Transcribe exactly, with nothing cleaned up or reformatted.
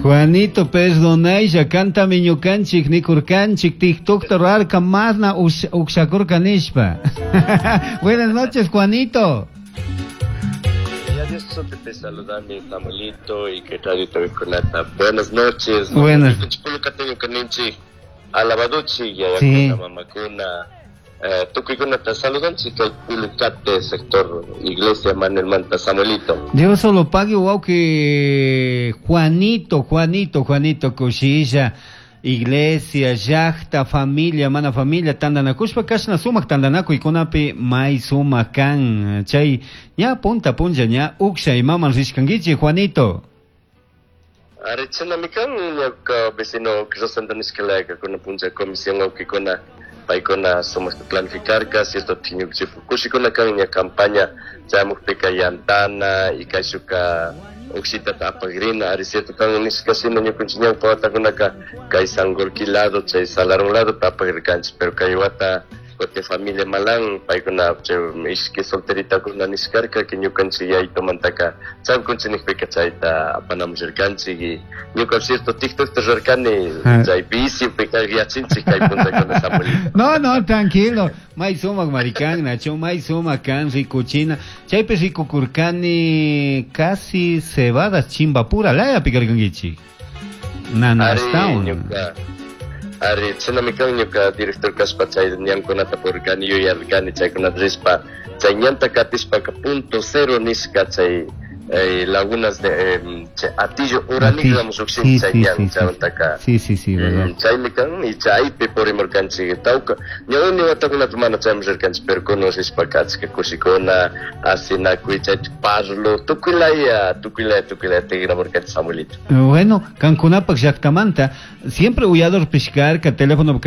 Juanito, perdonaylla, kantami ñukanchik nikurkanchik TikTokta rurarka mana ukshakurka nishpa. Buenas noches, Juanito. Ya Dios te saludami, Samuelito y que radio Conata. Buenas noches. Buenas. Alabaduchi, Sí. mamakuna. Eh, tukuykunata saludanchik kay Pulucate sector Iglesia Manuel Manta Samuelito. Dios solo pague, wow, que Juanito, Juanito, Juanito kushilla, iglesia, llaqta, familia, mana familia, tandanakushpa kashna sumak tandanakuykunapi may sumak kan. Chay ña punta punlla ña uksha imaman rishkankichik, Juanito. Ari chinami kan ñuka vecino Rosendo nishkalaka kuna punlla comisión awkikuna paykuna sumakta planificarka cierto ñukanchik kushikuna kan ña campaña chamukpika yantana y kayshuka ukshitata apagrina ari cierto kan nishka shina ñukanchik ñawpa watakunaka kay Sangolquí lado chay Salarón lado apagrirkanchik pero kay wata kutin familia Malan paykuna chay ishki solteritakuna nishkarka que ñukanchik yaytumantaka chamkunchik nikpika chayta apanamushirkanchik y ñuka cierto TikTokta rurarkani chay vicio-pika yachinchik kay punllakuna Samuelito. No, no, tranquilo. May sumak marikan, Nacho, may sumak kan rikuchina. Chaypi rikukurkani casi cebadas chimbapura laya pikarkankichik. Nana Ari town. ñuka ari chinami kan ñuka director kashpa chay ñankunata purirkani yuyarkani chaykunata rishpa chay ñanta katishpaka punto cero nishka chay eh, lagunas de eh, chay Atillo uranikllami llukshin Sí, chay sí, ñan sí, sí. chaymantaka Sí, sí, sí, verdad. Mm, chaymi kan y chaypi purimurkanchik tawka ñawni watakunata mana chayman rirkanchik pero kunan rishpaka achka kushikuna asinakuy chaypi parlo tukuylaya tukuylaya tukuylaya tikramurkanchik Samuelito. Bueno, kankunapaq llaqtamanta siempre uyador pishkarka teléfono